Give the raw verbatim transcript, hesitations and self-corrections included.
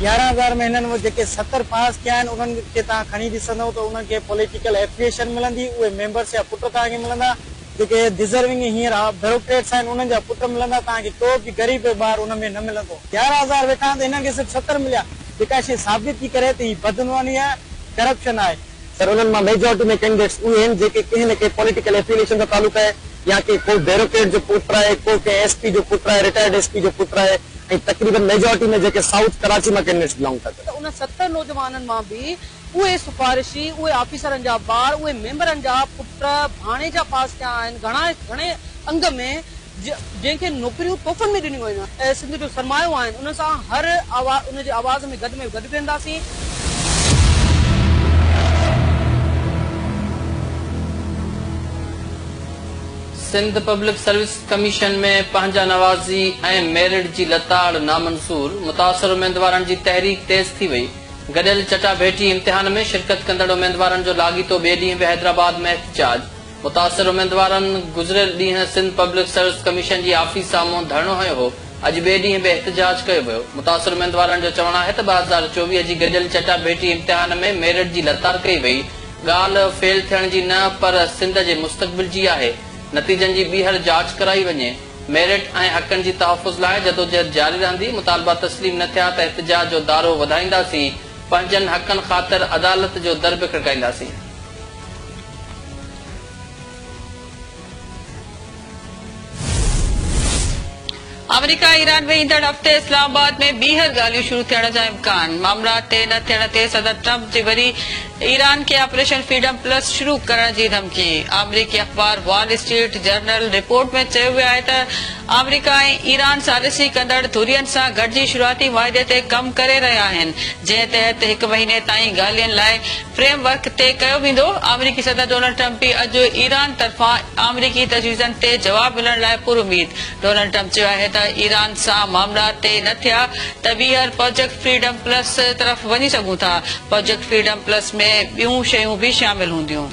يارهن هزار ۾ هنن جيڪي ستر پاس ٿيا آهن انهن کي توهان کڻي ڏسندؤ ته انهن کي پوليٽيڪل ايفليئيشن ملندي، اهي ميمبرس جا پٽ توهان کي ملندا، جيڪي ڊزرونگ هينئر بيوروڪريٽس آهن انهن جا پٽ ملندا، توهان کي ڪو به غريب ٻار ان ۾ نه ملندو. يارهن هزار ويٺا آهن ته هنن کي صرف ستر مليا، جيڪا شيءِ ثابت ٿي ڪري ته هي بدعنواني آهي، ڪرپشن آهي. سر انهن مان ميجورٽي ۾ ڪينڊيڊيٽس اهي آهن جيڪي ڪنهن نه ڪنهن پوليٽيڪل ايفليئيشن سان تعلق آهي، يا ڪي ڪو بيوروڪريٽ جو پٽ آهي، ڪو ڪنهن ايس پي جو پٽ آهي، رٽائرڊ ايس پي جو پٽ آهي، ۽ تقريبن ميجورٽي ۾ جيڪي سائوٿ ڪراچي مان ڪينڊيڊيٽس بلانگ ٿا ڪن. ته ان ستر نوجوانن مان به اهي سفارشي، اهي آفيسرن جا ٻار، اهي ميمبرن جا پٽ ڀاڻيجا پاس ٿيا آهن گهڻا گهڻي انگ ۾ جنهن کي نوڪريون تحفن ۾ ڏنيون ويون آهن، سنڌ جو سرمايو آهن، ان سان هر آواز ان جي آواز ۾ گڏ ۾ گڏ وينداسين. سنڌ پبلڪ سروس ڪميشن ۾ پنهنجا نوازي ۽ ميرٽ جي لتاڙ نامنظور، متاثر اميدوارن جي تحريڪ تيز ٿي وئي. گڏيل چٽاڀيٽي امتحان ۾ شرڪت ڪندڙ اميدوارن جو لاڳيتو ٻئي ڏينهن به حيدرآباد ۾ احتجاج. متاثر اميدوارن گذريل ڏينهن سنڌ پبلڪ سروس ڪميشن جي آفيس سامهون ڌرڻو هنيو هو، اڄ ٻئي ڏينهن به احتجاج ڪيو ويو. متاثر اميدوارن جو چوڻ آهي ته ٻه هزار چوويهه جي گڏيل چٽاڀيٽي امتحان ۾ ميرٽ جي لتاڙ ڪئي وئي، ڳالهه فيل ٿيڻ جي نه پر سنڌ جي مستقبل جي آهي، نتيجن جي ٻيهر جاچ ڪرائي وڃي، ميرٽ ۽ حقن جي تحفظ لاءِ جدوجهد جاري رهندي، مطالبا تسليم نه ٿيا ته احتجاج جو دارو وڌائينداسين، پنهنجن حقن خاطر عدالت جو در به کڙڪائينداسين. آمريڪا ايران ۾ ايندڙ هفتي اسلام آباد ۾ ٻيهر ڳالهيون شروع ٿيڻ جا امڪان، معاملا طئي نه ٿيڻ تي صدر ٽرمپ جي وري ايران کي آپريشن فريڊم پلس شروع ڪرڻ جي ڌمڪي. آمريڪي اخبار وال اسٽريٽ جرنل رپورٽ ۾ چيو ويو آهي ته آمريڪا ۽ ايران ثالثي ڪندڙ ڌرين سان گڏجي شروعاتي معاهدي تي ڪم ڪري رهيا آهن، جنهن تحت هڪ مهيني تائين ڳالهين لاءِ فريم ورڪ طئي ڪيو ويندو. آمريڪي صدر ڊونلڊ ٽرمپ به اڄ ايران طرفان آمريڪي تجويزن تي جواب ملڻ لاءِ پراميد. ڊونلڊ ٽرمپ چيو آهي ته ايران سان معاملا طئي نه ٿيا ته ٻيهر پروجيڪٽ فريڊم پلس طرف وڃي سگهون ٿا. پروجيڪٽ فريڊم پلس ۾ ٻيون شيون به شامل هونديون.